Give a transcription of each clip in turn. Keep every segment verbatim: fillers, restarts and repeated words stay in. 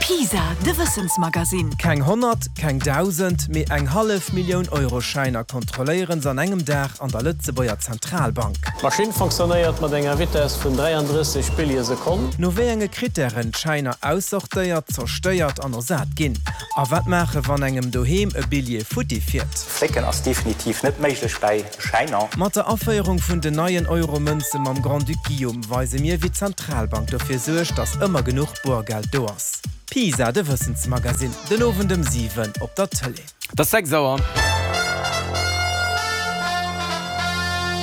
PISA, de Wëssensmagasinn. Keng honnert, keng dausend, mee eng hallef Millioun Euro-Schäiner kontrolléieren se an engem Dag an der Lëtzebuerger Zentralbank. D'Maschinn fonctionnéiert mat enger Vitess vun dräiandrësseg Billje Sekonn. No wéi enge Krittären d'Schäiner aussortéiert, zerstéiert an ersat ginn. A wat maachen, wann engem doheem e Billjee futti fiert. Flécken ass definitiv net méiglech bäi Schäiner. Mat der Aféierung vun den neien Euro-Mënze mam Grand-Duc Guillaume weise mir, wéi d'Zentralbank dofir suergt, datt ëmmer genuch Boergeld do ass. PISA, de Wëssensmagasinn, den Owend ëm siwen op der Tëlee. Et ass sechs Auer.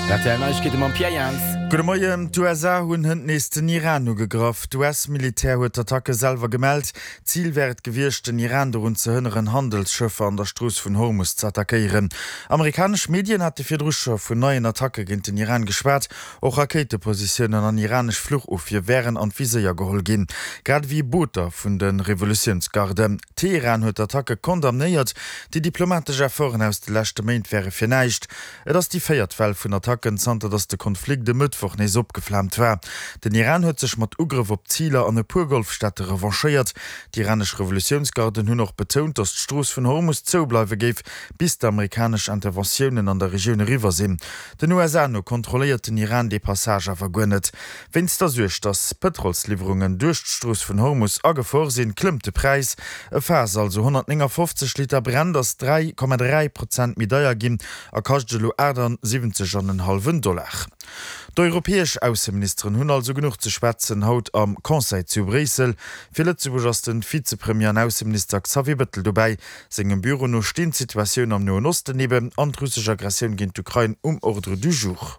Rtl Neiegkeete mam Pierre Jans. Gudde Moien, D'USA hunn hënt nees den Iran ugegraff. D'US-Militär huet d'Attacke selwer gemellt. Zil wär et gewiescht, den Iran dorun ze hënneren, Handelsschëffer an der Strooss vun Hormus ze attackéieren. Amerikanesch Medien hate virdru scho vun neien Attacke géint den Iran geschwat. Och Rakéitepositiounen an iranesch Fluchofwier wären an d'Viséier geholl ginn, grad ewéi Booter vun de Revolutiounsgarden. Teheran huet d'Attacke condamnéiert. Déi diplomatesch Efforten aus de leschte Méint wäre fir näischt. Et ass déi véiert Well vun Attacken, zanter datt de Konflikt e Mëttwoch nees opgeflaamt war. Den Iran huet sech mat Ugrëff op Ziler an e puer Golfstaate revanchéiert. Déi iranesch Revolutiounsgarden hunn och betount, datt d'Strooss vun Hormus zou bleiwe géif, bis d'amerikanesch Interventiounen an der Regioun eriwwer sinn. Den U S A no kontrolléiert den Iran dee Passage awer guer net. Wéinst der Suerg, datt Pëtrolsliwwerungen duerch d'Strooss vun Hormus a Gefor sinn, klëmmt de Präis. E Faass, also honnertnéngafofzeg Liter Brent, ass dräi Komma dräi Prozent méi deier ginn a kascht elo achtasiwwenzeg an en hallwen Dollar. D'europäesch Ausseministeren hunn also genuch ze schwätzen haut am Conseil zu Bréissel. Fir Lëtzebuerg ass de Vizepremier an Ausseminister Xavier Bettel dobäi. Sengem Büro no stinn d'Situatioun am Noen Osten eben an d'russesch Aggressioun géint d'Ukrain um Ordre du jour.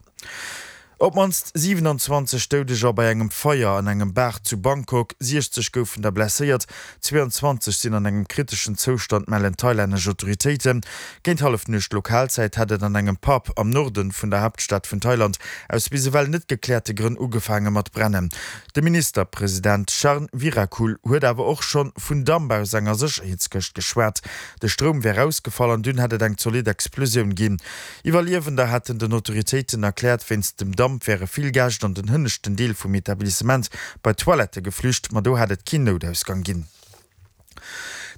Op d'mannst siwenanzwanzeg Doudeger bei engem Feier an engem Bar zu Bangkok, siechzeg goufen der blesséiert, zweeanzwanzeg sinn an engem kriteschen Zoustand, mellen thailännesch Autoritéiten. Géint Hallefnuecht Lokalzäit hätt et an engem Pub am Norde vun der Haaptstad vun Thailand aus bis ewell net gekläerte Grënn ugefaange mat brennen. De Ministerpresident Charnvirakul huet awer och scho vun Damp aus enger Sécherheetskëscht geschwat. De Stroum wär ausgefall an dunn hätt et eng zolidd Explosioun ginn. Iwwerliewender hätten den Autoritéiten erkläert, wéinst dem Damp wäre vill Gäscht an den hënneschten Deel vum Etablissement bei d'Toilette geflücht, ma do hätt et keen Noutausgang ginn.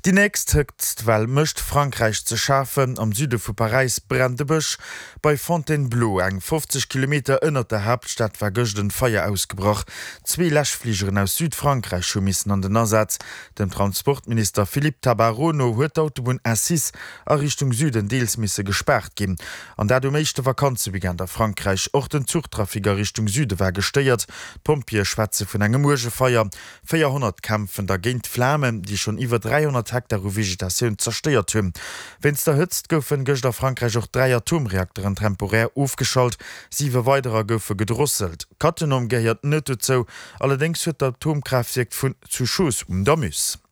Déi nächst Hëtztwell mécht Frankräich ze schafen. Am Süde vu Paräis brennt de Bësch. Bei Fontainebleau, eng fofzeg Kilometer ënnert der Haaptstad, war gëscht en Feier ausgebrach. Zwee Läschfligeren aus Südfrankräich hu missen an den Asaz. Dem Transportminister Philippe Tabarot no huet d'Autobunn A six a Richtung Süden deels misse gespaart ginn. An dat um éischte Vakanzeweekend a Frankräich. Och den Zuchtrafic a Richtung Süde war gestéiert. D'Pompjeeë schwätze vun engem uerge Feier. Véierhonnert kämpfen da géint d'Flamen, déi schonn iwwer dräihonnert Hektar u Vegetatioun zerstéiert hunn. Wéinst der Hëtzt goufen gëscht a Frankräich och dräi Atomreakteren temporär ofgeschalt, siwe weiderer goufe gedrosselt. Cattenom gehéiert net dozou, allerdéngs huet d'Atomkraaftwierk vun zu Chooz um der Meuse.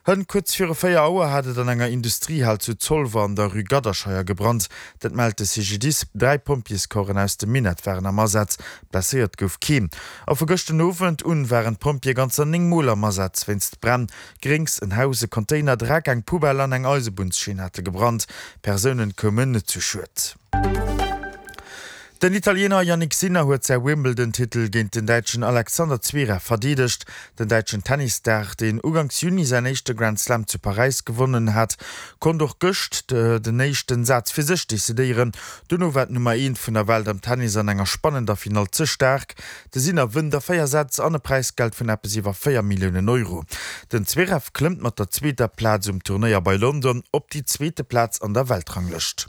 Hënt kuerz viru véier Auer hat et an enger Industriehal zu Zolwer an der Rue Gadderscheier gebrannt. Dat mellt de C G D I S. Dräi Pompjeescorpsen aus dem Minett waren am Asaz, blesséiert gouf keen. A vu gëschten Owend un waren d'Pompjeeë ganzer néng Mol am Asaz wéinst Bränn. Gréngs, en Haus, e Container, Dreck, eng Poubelle an eng Eisebunnsschinn hate gebrannt. Persounen koumen net zu Schued. Den Italiener Jannik Sinner huet säi Wimbledon-Titel géint den Däitschen Alexander Zverev verdeedegt. Den däitschen Tennisstar, deen uganks Juni säin éischte Grand Slam zu Paräis gewonnen hat, konnt och gëscht den éischten Saz fir sech decidéieren. Dono war d'Nummer eent vun der Welt am Tennis an enger spannender Finall ze staark. De Sinner wënnt a véier Sätz an e Präisgeld vun eppes iwwer véier Milliounen Euro. Den Zverev klëmmt mat der zweeter Plaz um Turnéier bei London op déi zweete Plaz an der Weltranglëscht.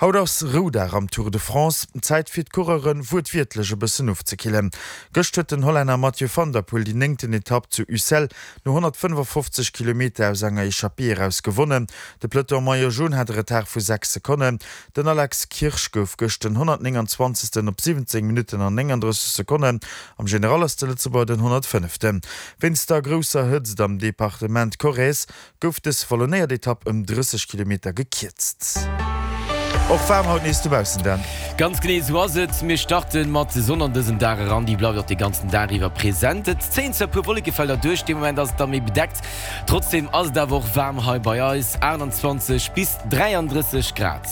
Haut ass Roudag am Tour de France, Zäit fir d'Coureuren wuertwiertlech e bëssen ofzekillen. Gëscht huet den Hollänner Mathieu van der Poel déi néngten Etapp zu Ussel no honnertfënnefafofzeg Kilometer aus enger Echappée eraus gewonnen. De Peloton Maillot Jaune hat e Retard vu sechs Sekonnen. Den Alex Kirsch gouf gëscht den honnertnénganzwanzegsten op siwwenzéng Minutten an nénganddrësseg Sekonnen. Am General ass de Lëtzebuerger den honnertfënneften. Wéinst der grousser Hëtzt am Departement Corrèze gouf dës vallonnéiert Etapp ëm drësseg Kilometer gekierzt. Och waarm haut nees dobaussen, Dan. Ganz genee esou ass et. Mir starte mat Sonn an dësen Dag eran, déi bleift och de ganzen Dag iwwer present. Et zéien zwar e puer Wollekefelder duerch, de Moment ass et da méi bedeckt. Trotzdeem ass et awer och waarm hei bei eis, aachtanzwanzeg bis dräiandrësseg Grad.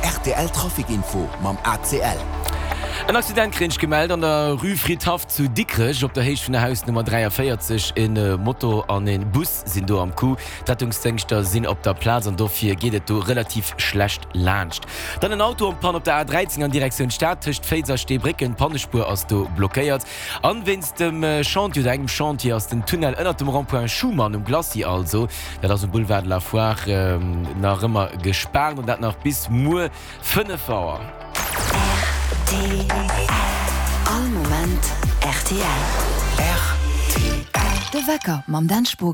R T L Trafic Info mam A C L. En Accident kréien ech gemellt an der Rue Fridhaff zu Dikrech op der Héicht vun der Hausnummer dräiavéierzeg. En Moto an en Bus sinn do am Coup. D'Rettungsdéngschter sinn op der Plaz an dofir geet et do relativ schlecht laanscht. Dann en Auto en Panne op der A dräizéng an Direktioun Stad tëscht Féiz a Steebrécken. D'Pannespuer ass do blockéiert. An wéinst dem Chantier oder engem Chantier ass den Tunnel ënnert dem Rond-point Schuman um Glacis, also dat ass um Boulevard de la Foire, nach ëmmer gespaart an dat nach bis muer fënnef Auer. R T L. All Moment R T L. R T L. De Wecker mam Dan Spogen.